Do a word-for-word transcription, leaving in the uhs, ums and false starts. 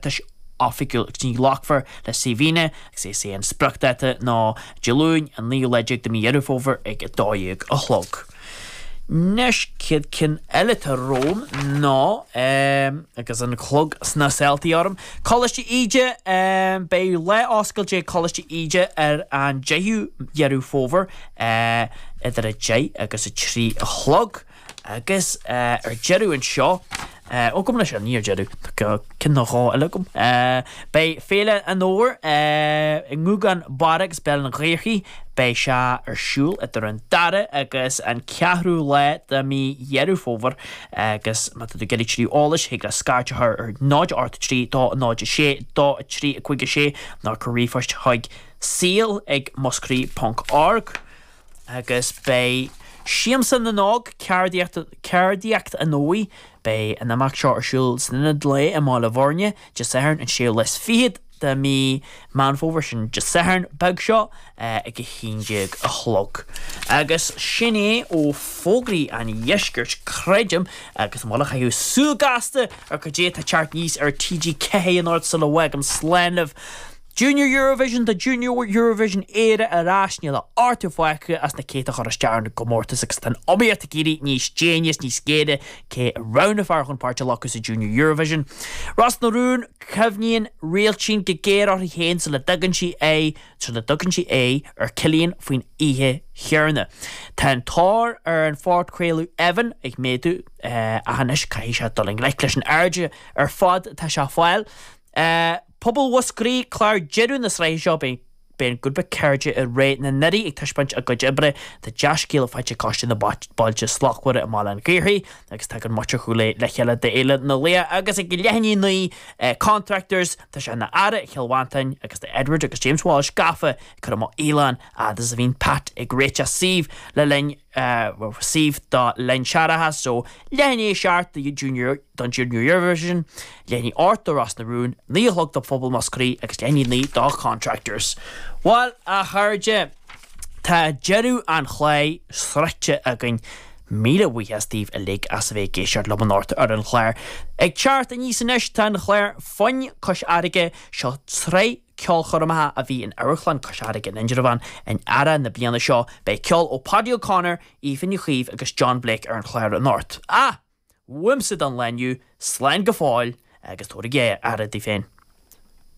iarratais oifigiúil agus ní ghlacfar le CVnna agus is é an spriocdháta ná Dé Luain an naoú lá déag de mí Dheireadh Fómhair ag a dó dhéag a chlog. Anois chéad cinn eile atá romham ná agus an clog sna seoltaí orm. Coláiste Íde beidh lá oscailte ag Coláiste Íde ar an deichiú Deireadh Fómhair idir a deich agus a trí a chlog agus ar deireadh anseo ó gom leis ní ar deireadh ceann nó dhá eile agam. Beidh Féile an Fhómhair i nGúgán Barra agus Béal an Ghaorthaidh, beidh sé ar siúl idir an dara agus an ceathrú lá de mí Dheireadh Fómhair agus má tá tú ag iarraidh tuilleadh eolais thig leat scairt a chur ar náid ocht trí dó náid a sé dó a trí a cúig a sé nó cuir ríomhphost chuig saol ag muscraí ponc org agus beidh Siamsa na nÓg, Ceardaíocht Ceardaíocht an Fhómhair, beidh an imeacht seo ar siúl san Ionad Lae i mBaile Bhuirne, Dé Sathairn an séú lá is fichead de mí Meán Fómhair, sin Dé Sathairn beag seo, ag a haon déag a chlog. Agus sin é ó fógraí an Dheiscirt, creidim, agus an bhfuil a chaitheamh súil gasta ar cad é atá ag teacht aníos ar TG ceathair anocht sula bhfágaim slán libh. Junior Eurovision, Tá Junior Eurovision Éire ar ais, níl ach ochtar fágtha as na céadta a chuir isteach ar an gcomórtas agus tá an iomaíocht ag éirí níos déine is níos géire cé a roghnófar chun páirt a ghlacadh sa Junior Eurovision. Ros na Rún, Cuimhníonn Réiltín go géar uirthi féin sula dtugann sí aghaidh sula dtugann sí aghaidh ar Cillian faoin oíche chéanna. Tá an tóir ar an phodchraoladh Evan ag méadú ach anois caithfidh sé dul i ngleic leis an aird ar fad atá sé a fáil. Pobal Mhúscraí, clár deireadh na sraithe seo, beidh beidh an grúpa Cairde i Ré na nDoirí ag taispeáint a gcuid oibre. Tá dea-scéala faighte ag Coiste na Bailte Slachtmhara i mBaile an Ghaorthaidh agus tagann muintir Chúil Aodha le chéile d'Fhéile na Laoch agus ag leath i ndiaidh a naoi Contractors, tá sé ina earra Chill Mhantáin agus tá Edward agus James Walsh gafa ag cur amach fhaoileán fhad is a bhíonn Pat ag réiteach suímh le linn suíomh do linn searrach so leath i ndiaidh a seacht do Junior don Junior Eurovision, leath i ndiaidh a hocht do Ros na Rún, naoi a chlog do Phobal Mhúscraí agus leath i ndiaidh a naoi do Contractors. Bhuel, a chairde, tá deireadh an chláir sroichte againn. Míle buíochas daoibh uilig as a bheith ag éisteacht liom anocht ar an chlár. Ag teacht aníos anois tá an clár Foinn Cois Fharraige, seo sraith ceolchoirmeacha a bhí in Amharclann Cois Fharraige in Indreabhán in earrach na bliana seo. Beidh ceol ó Paudie O'Connor, Aoife Ní Chaoimh agus John Blake ar an chlár anocht. Ah! Uaimse don lá inniu, slán go fóill agus tabhair aire daoibh féin.